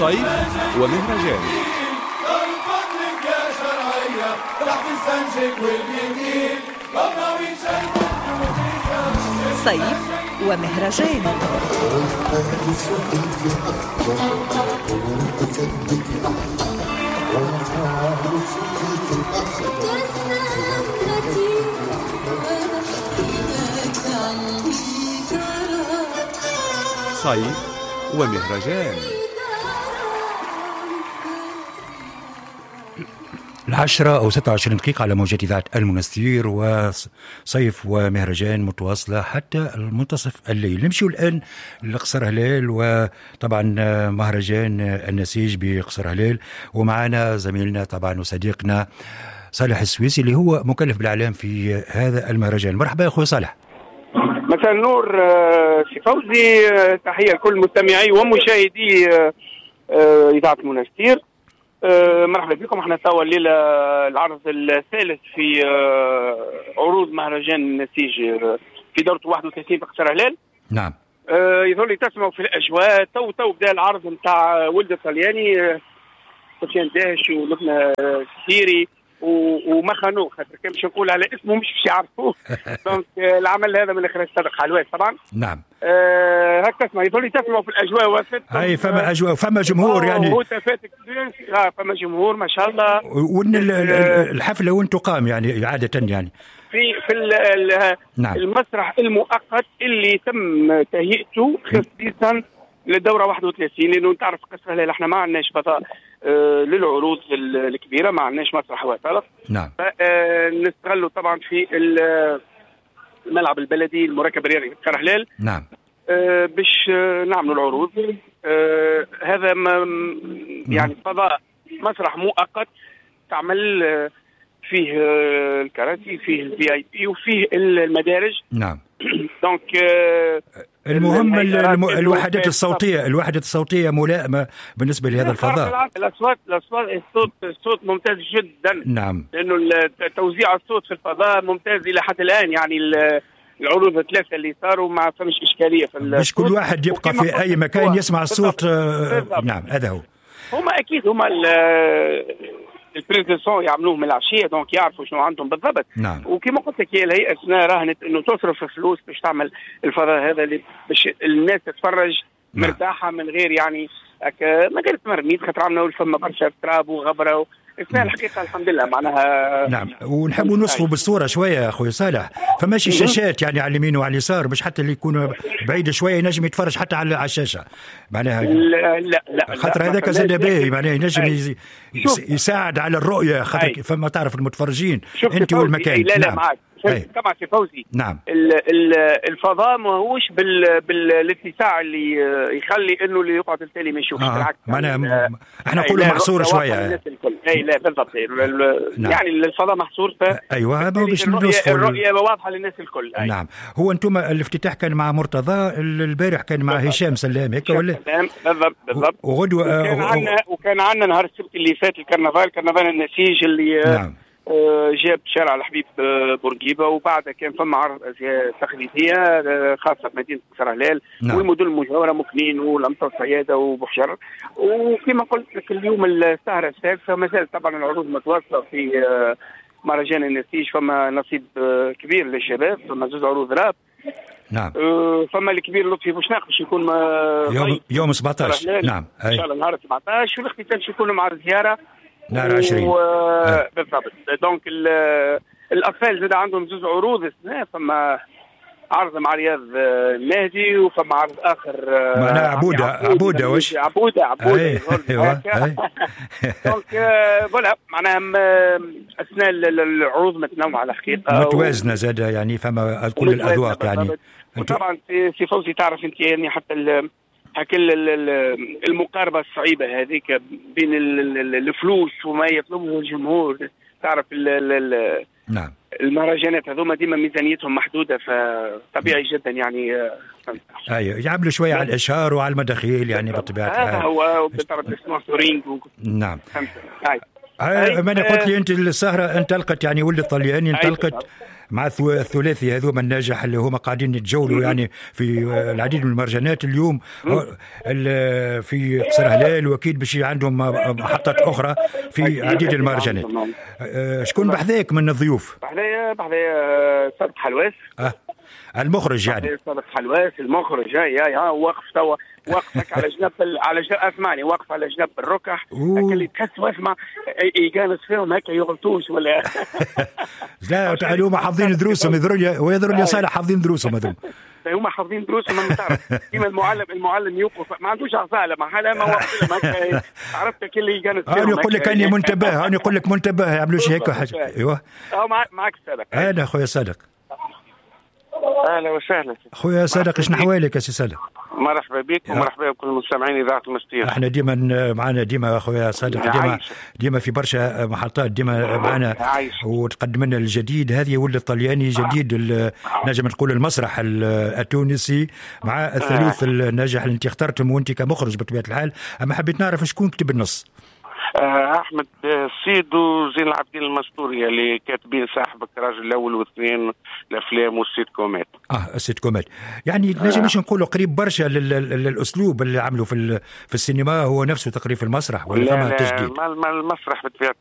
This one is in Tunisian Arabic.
صيف ومهرجان. صيف ومهرجان. صيف ومهرجان. 10:26 على موجات إذاعة المنستير، وصيف ومهرجان متواصلة حتى المنتصف الليل. نمشي الآن لقصر هلال، وطبعا مهرجان النسيج بقصر هلال، ومعنا زميلنا طبعا وصديقنا صالح السويسي اللي هو مكلف بالإعلام في هذا المهرجان. مرحبا يا أخوي صالح. مساء النور سي فوزي، تحية لكل مستمعي ومشاهدي إذاعة المنستير. مرحبا بكم. احنا توا الليلة العرض الثالث في عروض مهرجان النسيج في دورته 31 في قصر هلال. نعم. يظل لي تسمعوا في الاجواء. تو بدا العرض نتاع ولد الطلياني، سفيان داهش ولبنى السيري وما خانوه، خاطر كان باش نقول على اسمه مش باش يعرفوه. donc العمل هذا من اخراج صادق حلوات طبعا. نعم. هكا تسمع، يظل تسمعوا في الاجواء. هاي فما اجواء، فما جمهور يعني. فما جمهور ما شاء الله. وان الحفلة وين تقام يعني عادة يعني؟ في نعم. المسرح المؤقت اللي تم تهيئته خصيصا للدورة 31، لانه تعرف قصر هلال احنا ما عندناش فضاء للعروض الكبيرة، ما عندناش مسرح وطلق. نعم. نستغلوا طبعا في الملعب البلدي المركب الرياضي في قصر هلال. نعم. باش نعملوا العروض. هذا يعني فضاء مسرح مؤقت تعمل فيه الكراسي، فيه ال VIP، وفيه المدارج. نعم. donc المهم الوحدات الصوتية، الوحدات الصوتية ملائمه بالنسبة لهذا الفضاء. الاصوات الصوت ممتاز جدا. نعم. لانه توزيع الصوت في الفضاء ممتاز الى حد الان، يعني العروض الثلاثة اللي صاروا ما فمش اشكالية في باش كل واحد يبقى في اي مكان يسمع الصوت. نعم هذا هو. هما اكيد هما ال prise de son يعملوه من العشية، donc يعرفوا شنو عندهم بالضبط. نعم. وكما قلت لك هي الهيئة السنة راهنت انه تصرف فلوس باش تعمل الفضاء هذا اللي باش الناس تتفرج. نعم. مرتاحة من غير يعني من غير تمرميد، خاطر عملنا فما برشا تراب وغبره السنة الحقيقة الحمد لله معناها. نعم. ونحبوا نوصفوا بالصورة شوية يا اخوي صالح، فماشي شاشات يعني على اليمين وعلى اليسار باش حتى اللي يكون بعيد شوية ينجم يتفرج حتى على الشاشة معناها. لا لا لا، خاطر هذاك زاد باهي معناها ينجم يساعد على الرؤية، خاطر فما تعرف المتفرجين انت والمكان. لا لا معاك طبعا سي فوزي. نعم. الفضاء ماهوش بالاتساع اللي يخلي انه اللي يقعد التالي ما يشوفش. بالعكس معناها احنا نقولوا محصور شوية. اي لا بالضبط. نعم. يعني الفضاء محصور ايوه باش نوصفوا الرؤية واضحة للناس الكل. أي. نعم. هو انتم الافتتاح كان مع مرتضى، البارح كان مع هشام سلام هيك ولا؟ بالضبط بالضبط. وغدوه وكان عندنا نهار السبت اللي فات الكرنفال، كرنفال النسيج اللي نعم. جاب شارع الحبيب بورقيبة، وبعدها كان فما عرض ازياء تقليدية خاصة بمدينة قصر هلال. نعم. والمدن المجاورة مكنين والامطار صياده وبحجر. وكما قلت لك اليوم السهرة السادسة ما زالت طبعا العروض متواصلة في مهرجان النسيج. فما نصيب كبير للشباب، فما زوج عروض راب. نعم. فما الكبير لطفي بوشناق باش يكون يوم 17. نعم. ان شاء الله نهار 17، والاختتام باش يكون مع الزيارة نهار 20. بالضبط. donc الاطفال زاد عندهم زوج عروض السنة، فما عرض مع رياض المهدي وفما عرض اخر معناها عبوده عبوده واش عبوده عبوده. ايوه. donc voilà معناها اثناء العروض متنوعة الحقيقة، متوازنة زاد يعني، فما كل الاذواق يعني. وطبعا سي فوزي تعرف انت يعني حتى المقاربة الصعيبه هذيك بين الفلوس وما يطلبه الجمهور، تعرف نعم. المهرجانات هذوما ديما ميزانيتهم محدودة، فطبيعي جدا يعني. ايوه يعملوا شوية على الاشهار وعلى المداخيل يعني بالطبيعة. هذا هو بالطبع ال sponsoring نعم. ما انا قلت لي انت السهرة انطلقت، يعني ولد الطلياني انطلقت مع الثلاثي هذوما الناجح اللي هما قاعدين يتجولوا يعني في العديد من المهرجانات اليوم في قصر هلال، واكيد باش عندهم محطات اخرى في عديد المهرجانات. شكون بحذاك من الضيوف؟ بحذايا صادق حلواس. المخرج يعني. صادق حلواس المخرج، يا واقف توا، واقفك على جنب على جنب، اسمعني، واقف على جنب الركح اللي تحس واسمع يجانس فيهم هكا يغلطوش ولا. لا، هما حافظين دروسهم، ويذروا لي صالح، حافظين دروسهم هذوم. هما حافظين دروسهم، ما تعرف كيما المعلم يوقف ما عندوش عصا ما حدا ما واقف، عرفت كل اللي يجانس فيهم. انا يقول لك اني منتبه، انا يقول لك منتبه، يعملوش هيك حاجه. ايوه معك صادق. اهلا خويا صادق. اهلا وسهلا. خويا صادق، ايش نحوالك يا سي صادق؟ مرحبا بك ومرحبا بكل مستمعين اذاعة المستير. احنا ديما معنا ديما خويا صادق، ديما ديما في برشا محطات، ديما معنا وتقدم لنا الجديد. هذه ولد الطلياني جديد نجم نقول المسرح التونسي مع الثالوث الناجح اللي انت اخترتهم وانت كمخرج بطبيعة الحال. اما حبيت نعرف شكون كتب النص؟ احمد السيد وزين العابدين المستوري اللي كاتبين صاحبك راجل الاول واثنين الافلام والسيت كومات. السيت كومات يعني نجم مش نقولوا قريب برشا للاسلوب اللي عملوا في السينما، هو نفسه تقريبا في المسرح ولا فما تجديد؟ المسرح بطبيعة